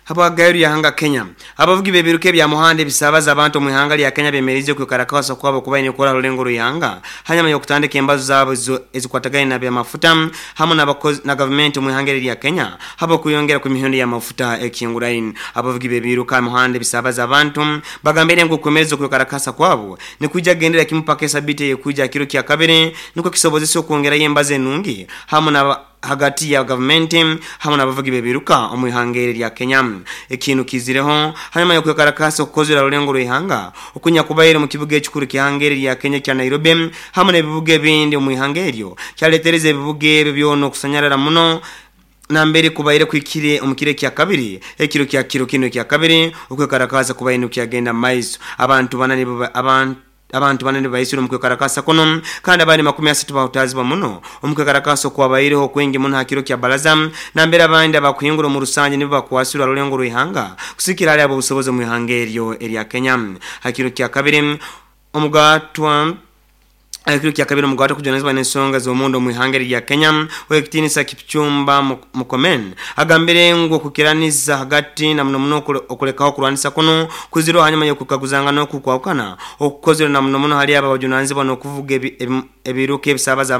Habwagayo lyahanga Kenya. Abavugi b'ebiruka ebya muhanda ebisaabaza abantu omu ihanga lya Kenya bemeriize okwekalakaasa kwabo kubaire nikukora ha rulengo rw'ihanga hanyuma y'okutandika embazo zaabo ezikwatagaine na by'amafuta hamu na gavumenti omu ihanga eri erya Kenya habw'okweyongera kw'emihendo y'amafuta ekihinguraine. Abavugi b'ebiruka ha muhanda ebisaabaza abantu bagambire ngu okwemereza okwekalakaasa kwabo nikwija kugendera kimu paka esabiiti eyekwija ha kiro kya kabiri nukwo kisobozese okwongerayo embazo enungi hamu na hagati ya gavumenti hamu n'abavugi b'ebiruka omu ihanga eri erya Kenya. Ekinu kiizireho hanyuma y'okwekalakaasa okukozerwe ha rulengo rw'ihanga okunyakubaire omu kibuga ekikuru ky'ihanga eri erya Kenya ekya Nairobi hamu n'ebibuga ebindi omu ihanga eryo kyaletereza ebibuga ebyo byona okusanyarara muno nambere kubaire kuhikire omu kiro ekyakabiri ekiro kya kiro kinu ekyakabiri okwekalakaasa kubaire nikukyagenda mu maiso. Abantu bana nibo Abantu bana nibaisirwe omu kwekarakasa kunu kandi abandi 30 bahutaazibwa muno omu kwekarakasa okwabaireho okwingi muno ha kiro kya Baraza nambere abandi abakuhingura omu rusangi nibo bakwasirwe ha rulengo rw'ihanga kusigikira hali ab'obusobozi omu ihanga eryo erya Kenya. Ha kiro kya kabiri omugatwa Ekiro kya kabiri omugato okujunanizibwa n'ensonga z'omunda omu ihanga eri erya Kenya, Ow'ekitiinisa Kipchumba Murkomen agambire ngu okwikiraniza hagati na muno muno okulekaho okurwanisa kunu kwizirweho hanyuma y'okukaguzangana oku kwahukana okukozerwe na muno muno hali abo abajunanizibwa n'okuvuga ebiruka ebisaabaza.